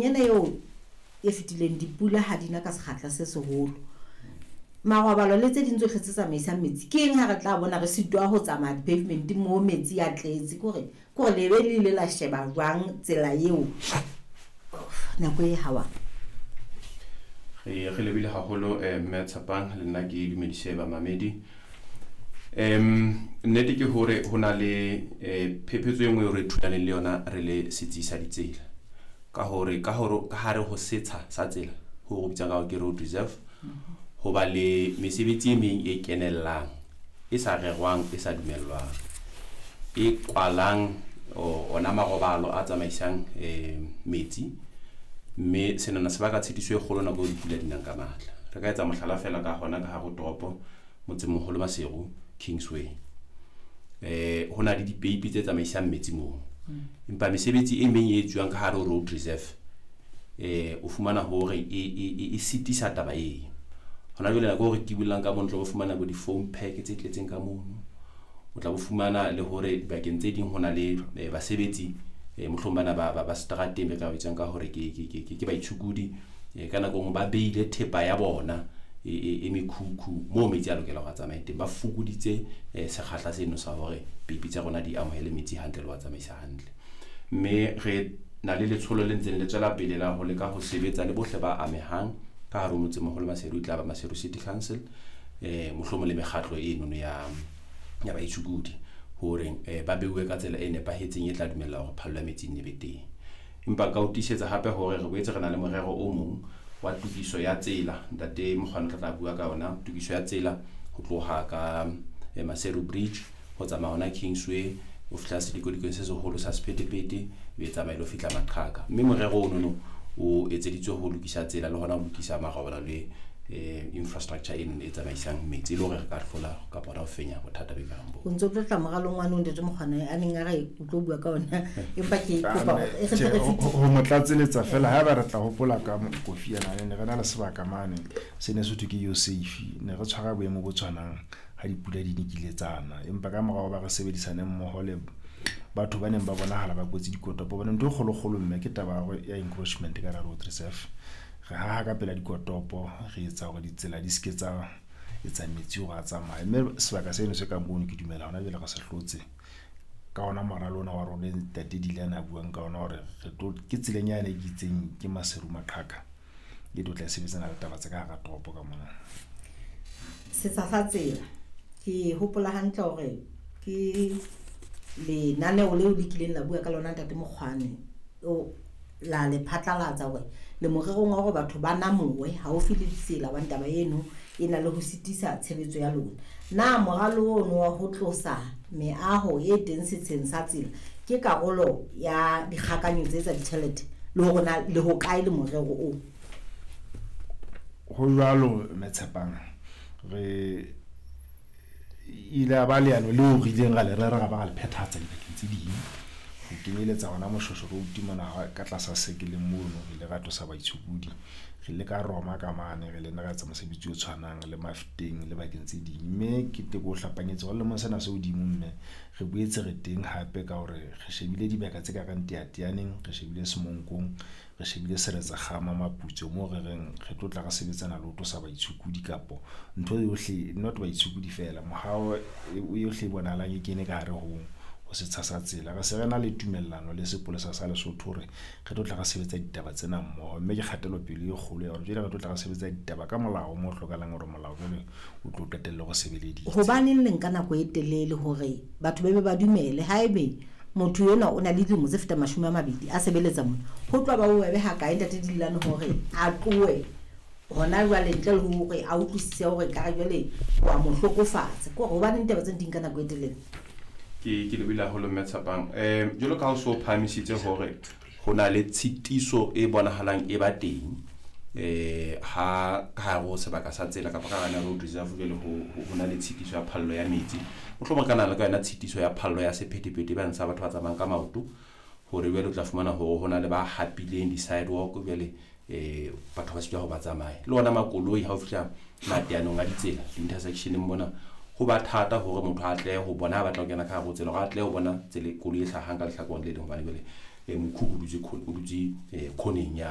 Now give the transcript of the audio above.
Ena eo e fetileng dipula ha di na ka sekgahla se seholo. Marobalo le tse ding tsohle tse tsamaisang metsi, ke eng ha re tla bona re sitwa ho tsamaya di-pavement moo metsi a tletse? Ke hore le be le ile la sheba jwang tsela eo nako e hawang? Re lebile haholo, mme Tshepang, le nna ke dumedise bamamedi. Nnete ke hore ho na le phephetso e nngwe eo re thulaneng le yona re le setsi sa ditsela, ka hore ka hare ho setsha sa tsela ho re bitsang ka hore ke road reserve, ho ba le mesebetsi e meng e kenellang, e sa rerwang, e sa dumellwang, e kwalang ona marobalo a tsamaisang metsi, mme senana se baka tshitiso e kgolo nako eo dipula di nang ka matla. Re ka etsa mohlala fela ka hona ka hare ho toropo, motsemoholo Maseru, Kingsway. Ho na le dipeipi tse tsamaisang metsi moo, empa mesebetsi e meng e etsuwang ka hare ho road reserve, o fumana hore e sitisa taba eo. Hona jwale nako eo re kibollang ka mono, o tla bo fumana bo di-foam pack tse tletseng ka mono. O tla bo fumana le hore bakeng tse ding ho na le basebetsi, mohlomong bana ba seterateng be ka bitswang ka hore ke baitshokodi, ka nako e nngwe ba beile thepa ya bona e mekhukhu moo metsi a lokela hore a tsamaye teng. Ba fokoditse sekgahla seno sa hore peipi tsa rona di amohele metsi hantle le ho a tsamaisa hantle. Mme re na le letsholo le ntseng le tswela pele la ho leka ho sebetsa le bohle ba amehang ka hare ho motsemoholo Maseru, e tla ba Maseru City Council, mohlomong le mekgatlo enono ya baitshokodi, hore ba beuwe ka tsela e nepahetseng e tla dumella hore phallo ya metsi e nne be teng. Empa nka o tiisetsa hape hore re boetse re na le morero o mong wa tokiso ya tsela. Ntate Mokgwane o tla bua ka yona tokiso ya tsela ho tloha ka Maseru Bridge ho tsamaya hona Kingsway, o fihla sedikodikong se seholo sa sephethephethe, e tsamaya le ho fihla Maqhaka. Mme morero ono o etseditswe ho lokisa tsela le hona ho lokisa marobalo le infrastructure eno e tsamaisang metsi, e le hore re ka hlola kapa hona ho fenya bothata bo kareng bo. O ntso tlotla moralong wa ntate Mokgwane a neng a re o tlo bua ka ona, empa ke kopa e re re fete. Ho mo tlatseletsa fela, haeba re tla hopola ka kofi ena, ne re na le sebaka mane se ne se thwe ke yo safe, ne re tshwara boemo bo tshwanang ha dipula di nekile tsana, empa ka morao ba re sebedisane mmoho le batho ba neng ba bonahala ba kwetse dikotopo. Hobane ntho e kgolokgolo, mme, ke taba ya encroachment ka road reserve. Re haha ka pela dikotopo, re etsa hore ditsela di seke tsa etsa metsi hore a tsamaye, mme sebaka seno se kang mono, ke dumela hona jwale re se hlotse ka ona moralo ona wa rona ntate Dilane a buang ka ona, hore re tlo ke tseleng yane e ke itseng ke Maseru Maqhaka, e tlo tla e sebetsana le taba tse ka hara toropo ka mona. Setsha sa tsela, ke hopola hantle hore ke lenaneo leo le kileng la bua ka lona, ntate Mokgwane, o la le phatlalatsa hore le morerong wa hore batho ba namowe haufi le ditsela, hobane taba eno e na le ho sitisa tshebetso ya lona. Na moralo ono wa ho tlosa meaho e teng setsheng sa tsela ke karolo ya dikgakanyo tse tsa ditjhelete, le hore na le ho kae le morero oo? Ho jwalo, mme Tshepang, re ile a ba leano leo re ileng ra le rera, ra ba ra le phethahatsa dibakeng tse ding, ho kenyeletsa hona Moshweshwe Road mona ka tlasa sekeleng mono, re ile ra tlosa baitshokodi. Re ile ka Roma ka mane, re le ra etsa mosebetsi o tshwanang le Mafeteng le bakeng tse ding. Mme ke teko o hlapanyetse hore lemong sena se hodimo, mme re boetse re teng hape ka hore re shebile dibaka tse ka reng Teyateyaneng, re shebile Semonkong, re shebile Seretse-Kgama, Maputsoe, moo re reng re tlo tla re sebetsana le ho tlosa baitshokodi kapo ntho yohle, not baitshokodi fela, mohao yohle e bonahalang e kene ka hare ho setsha sa tsela. Re se re na le tumellano le sepolesa sa Lesotho hore re tlo tla re sebetsa ditaba tsena mmoho, mme ke kgatelopele e kgolo ya hore jwale re tlo tla re sebetsa ditaba ka molao mo hlokahalang hore molao jwale o tlo qetelle go sebeleditse. Hobaneng le nka nako e telele hore batho ba be ba dumele? Haebe motho enwa o na le dilemo tse fetang 20 a sebeletsa mona, ho tloha ba bobebe hakae, ntate Dilane, hore a tlohe hona jwale ntle le hore a utlwisise hore ekare jwale wa mo hlokofatsa? Ke hore hobaneng taba tseno di nka nako e telele? Ke lebile haholo, mme Tshepang. Jwalo ka ha o so phahamisitse hore ho na le tshitiso e bonahalang e ba teng ha ka hare ho sebaka sa tsela kapa ka hara road reserve, jwale ho na le tshitiso ya phallo ya metsi, mohlomong ka na le ka yona tshitiso ya phallo ya sephethephethe bang sa batho ba tsamayang ka maoto, hore jwale o tla fumana hore ho na le ba hapileng di-sidewalk, jwale batho ba sitwa ho ba tsamaye le ona makoloi. Ha o fihla mateanong a ditsela, di-intersectioneng mona, ho ba thata hore motho a tle ho bona ha batla ho kena ka hare ho tsela, hore a tle ho bona tsela koloi e hlahang ka lehlakoreng le leng, hobane jwale mokhukhu o dutse khoneng ya